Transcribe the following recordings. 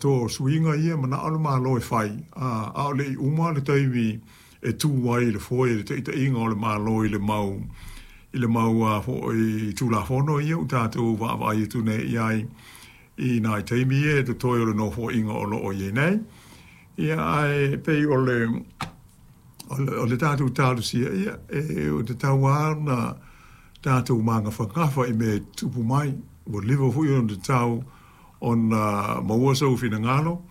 atoa o suiga ia e manao le Malo e fai, a o le i uma le taimi e tu ai i le foe i le taitaiga o le Malo i le mau i le mau a foi Tulafono ia ua tatou vaavaai atu nei i ai i nai taimi ia e totoe o le Nofoaiga o lo o i ai nei. Ia, ae pei o le o le tatou talosia, ia, e ua tatau lava ona tatou magafagafa i mea e tutupu mai. Ua leva foi ona tatau ona maua sou finagalo,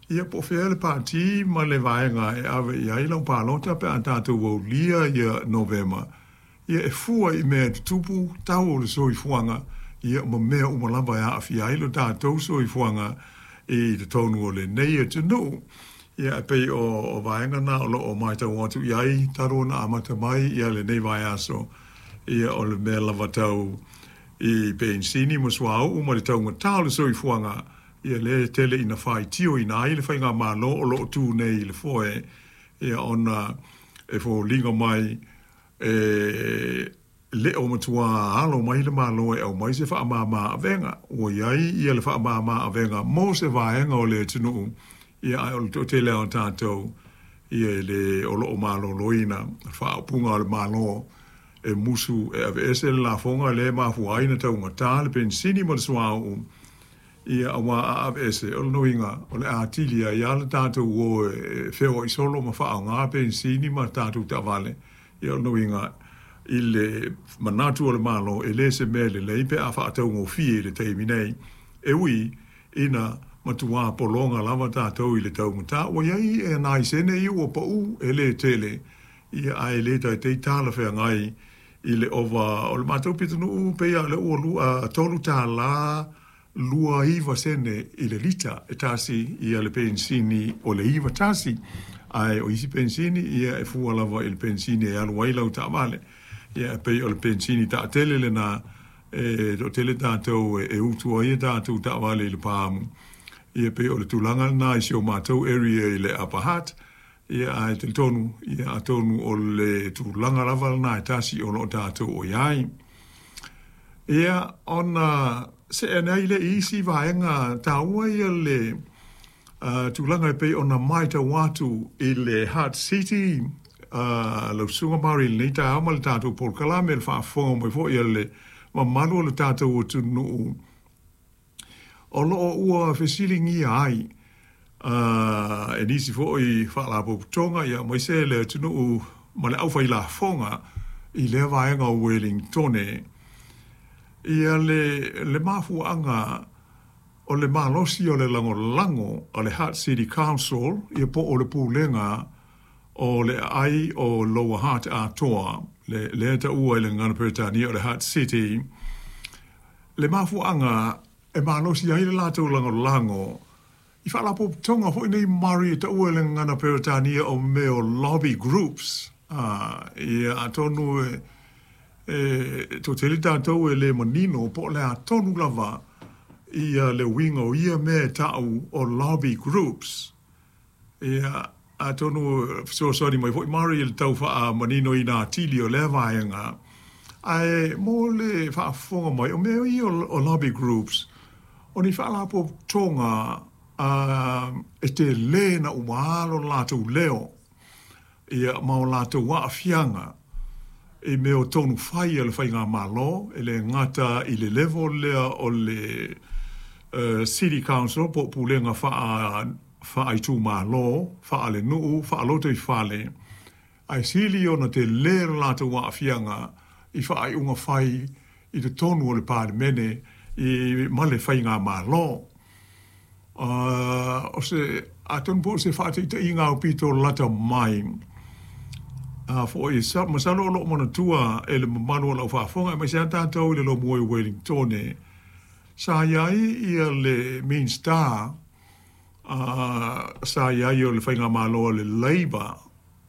ia po o fea le pati ma le vaega e ave i ai lau palota pe a tatou aulia ia Novema, ia e fua i mea e tutupu, tau o le soifuaga, ia ma mea uma lava e aafia ai lo tatou soifuaga i totonu o lenei atunuu. Ia e pei o vaega na o lo o matau atu i ai talu ona amata mai ia lenei vaiaso, ia o le mea lava tau i penisini ma suauu ma le taugata o le soifuaga, ia lea e tele ina faitioina ai le faigamalo o lo o tu nei i le foe, ia ona e foliga mai e le o matua alo mai le Malo e aumai se faamama avega. Ua i ai ia le faamama avega mo se vaega o le atunuu, ia ae o le toatele lava o tatou, ia e le o lo o maloloina le faaupuga a le Malo e musu e aveese le lafoga lea e mafua ai ona taugata le penisini ma le suauu, ia aua a aveese, o lona uiga o le a atili ai lava le tatou o e feoai solo ma faaaoga penisini ma tatou taavale. Ia o lona uiga i le manatu o le Malo e le se mea lelei pe a faataugofie i le taimi nei, e ui ina matuā pologa lava tatou i le taugata. Ua i ai nai sene ia ua pau e le tele, ia ae le taitai talafeagai i le ova o le matou pitonuu, pei lava o lea ua $3.29 i le lita e tasi ia le penisini o le 91, ae o isi penisini ia e fua lava i le penisini e alu ai lau taavale. Ia e pei o le penisini taatele lena e toatele tatou e utu ai a tatou taavale i le paamu. Ia e pei o le tulaga lena i si o matou area i le Upper Hutt. Ia ae talitonu, ia atonu o le tulaga lava lena e tasi o lo o tatou o i ai. Ia ona see ane ai lea i isi vaega taua ia le tulaga e pei ona matau atu i le Hutt City, lau Susuga Mary i lenei taeao ma le tatou polokalame, le faafofoga mai foi a le mamalu o le tatou atunuu, o lo o ua fesiligia ai e nisi foi faalapotopotoga aemaise le atunuu ma le aufailafoga i lea vaega o Uelintone ia le mafuaaga o le malosi o le lagolago a le Hutt City Council ia po o le pulega o le aai o Lower Hutt atoa, lea e taua i le gagana Peretania o le Hutt City. Le mafuaaga e malosi ai le latou lagolago i faalapotopotoga foi nei Murray e taua i le gagana Peretania o mea o lobby groups. Ia atonu e toatele tatou e le manino po o le a tonu lava ia le uiga o ia mea e ta'u o lobby groups. Ia, atonu e fesoasoani mai foi Murray i le tau faamaninoina atili o lea vaega. Ae mo le faafofoga mai, o mea ia o lobby groups, o ni faalapotopotoga e tele na uma lo latou leo ia ma o latou aafiaga i mea o tonu fai a le faigamalo, e le gata i le level lea o le City Council po o pulega faaitumalo, faalenuu, faalotoifale, ae sili ona tele lo latou aafiaga i faaiuga fai i totonu o le Palemene ma le faigamalo. O se, atonu po o se faataitaiga aupito lata mai, a foi, masalo o lo o manatua e le mamalu o lau faafofoga, aemaise lava tatou i le Lomua i Wellingtone, sa i ai ia le Minisita sa i ai o le faigamalo a le Labour,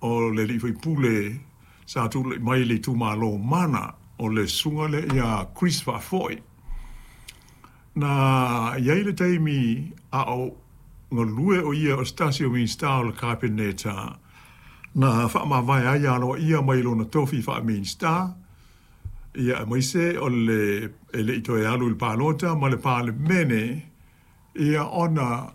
o le alii faipule sa tulai mai i le itumalo Mana, o le susuga lea ia Chris Faafoi. Na i ai le taimi a o galue o ia o se tasi o Minisita o le Kapeneta, na faamavae ai aloaia mai lona tofi faa-Minisita, ia aemaise o le e le i toe alu i le palota ma le Palemene, ia ona